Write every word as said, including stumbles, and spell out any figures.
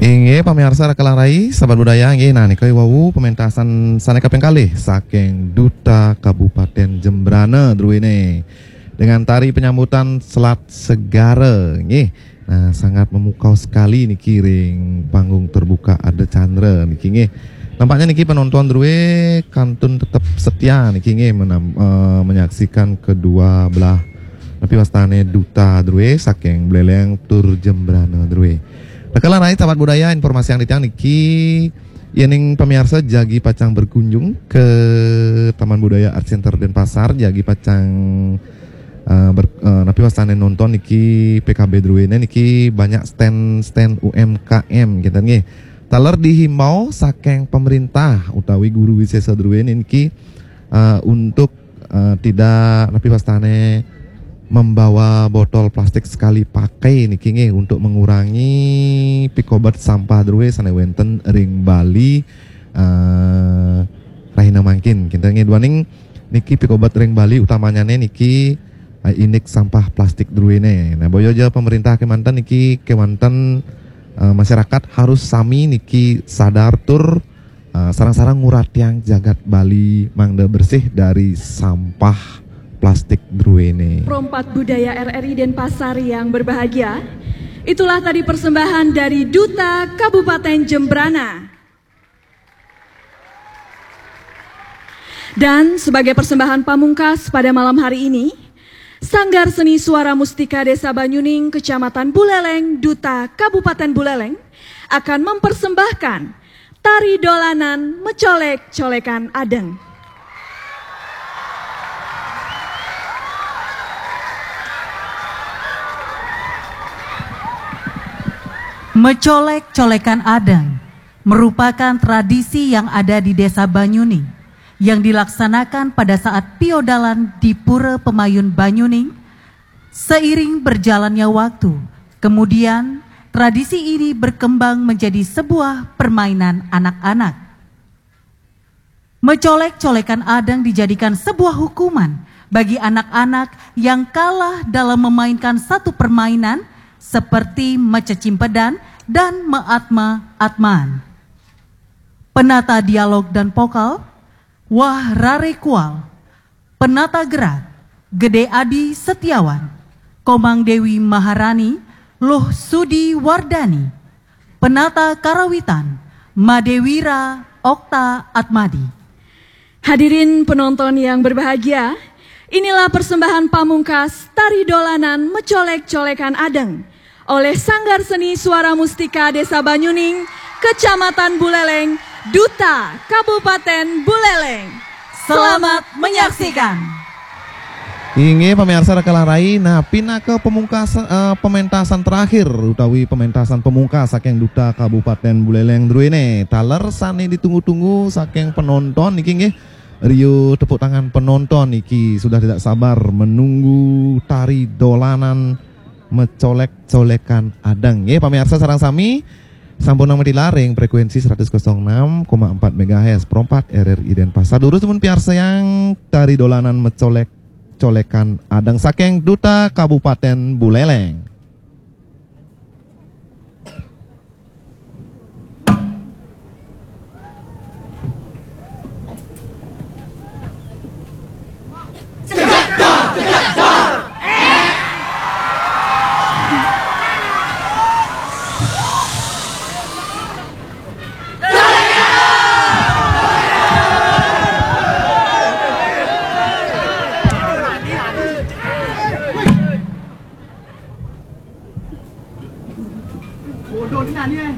Inggih, pamiarsa Raka lan Rai, sahabat budaya, inggih, nah, nika wau pementasan sane kaping kalih saking Duta Kabupaten Jembrana druene. Dengan tari penyambutan Selat Segara, inggih. Nah, sangat memukau sekali niki ring panggung terbuka Ardha Candra niki, inggih. Nampaknya niki penonton drue kantun tetep setia niki, inggih, menam-, eh, menyaksikan kedua belah, tapi wastane Duta drue saking Buleleng tur Jembrana drue. Raka lan Rai, sahabat budaya, informasi yang titiang niki, yening pamiarsa jagi pacang berkunjung ke Taman Budaya Art Center Denpasar, jagi pacang, eh, ber-, eh, napi wastane nonton niki P K B druene niki banyak stand-stand U M K M, kinten nggih. Taler dihimbau saking pemerintah utawi guru wisesa druene niki, eh, untuk, eh, tidak, napi wastane, membawa botol plastik sekali pakai niki, nggih, untuk mengurangi pikobet sampah drue sane wenten ring Bali, eh, rahina mangkin. Kinten nggih, duaning niki pikobet ring Bali utamanyane niki, eh, indik sampah plastik druene. Nah, boya ja pemerintah kemanten niki, kemanten, eh, masyarakat harus sami niki sadar tur, eh, sareng-sareng nguratiang jagat Bali mangda bersih dari sampah plastik druene. Perompak Budaya R R I Denpasar yang berbahagia, itulah tadi persembahan dari Duta Kabupaten Jembrana. Dan sebagai persembahan pamungkas pada malam hari ini, Sanggar Seni Suara Mustika Desa Banyuning, Kecamatan Buleleng, Duta Kabupaten Buleleng, akan mempersembahkan tari dolanan mecolek-colekan adeng. Mecolek-colekan adeng merupakan tradisi yang ada di Desa Banyuning yang dilaksanakan pada saat piodalan di Pura Pemayun Banyuning. Seiring berjalannya waktu, kemudian tradisi ini berkembang menjadi sebuah permainan anak-anak. Mecolek-colekan adeng dijadikan sebuah hukuman bagi anak-anak yang kalah dalam memainkan satu permainan seperti mececimpedan dan meatma-atmaan. Penata dialog dan vokal, Wah Rare Kual. Penata gerak, Gede Adi Setiawan. Komang Dewi Maharani, Luh Sudi Wardani. Penata karawitan, Madewira Okta Atmadi. Hadirin penonton yang berbahagia, inilah persembahan pamungkas tari dolanan mecolek-colekan adeng oleh Sanggar Seni Suara Mustika Desa Banyuning, Kecamatan Buleleng, Duta Kabupaten Buleleng. Selamat menyaksikan. Inggih, pamiarsa Raka lan Rai, nah, pinaka pamungkas, eh, pementasan terakhir utawi pementasan pamungkas saking Duta Kabupaten Buleleng druene. Taler sane ditunggu-tunggu saking penonton niki, nggih. Riuh tepuk tangan penonton niki sudah tidak sabar menunggu tari dolanan mecolek-colekan adeng. Nggih, pamiarsa sareng sami, sampun nameti laring frekuensi seratus kosong enam koma empat megahertz, perompak R R I Denpasar. Durus mun piarsayang tari dolanan mecolek-colekan adeng saking Duta Kabupaten Buleleng. Bodoh ni nani, eh?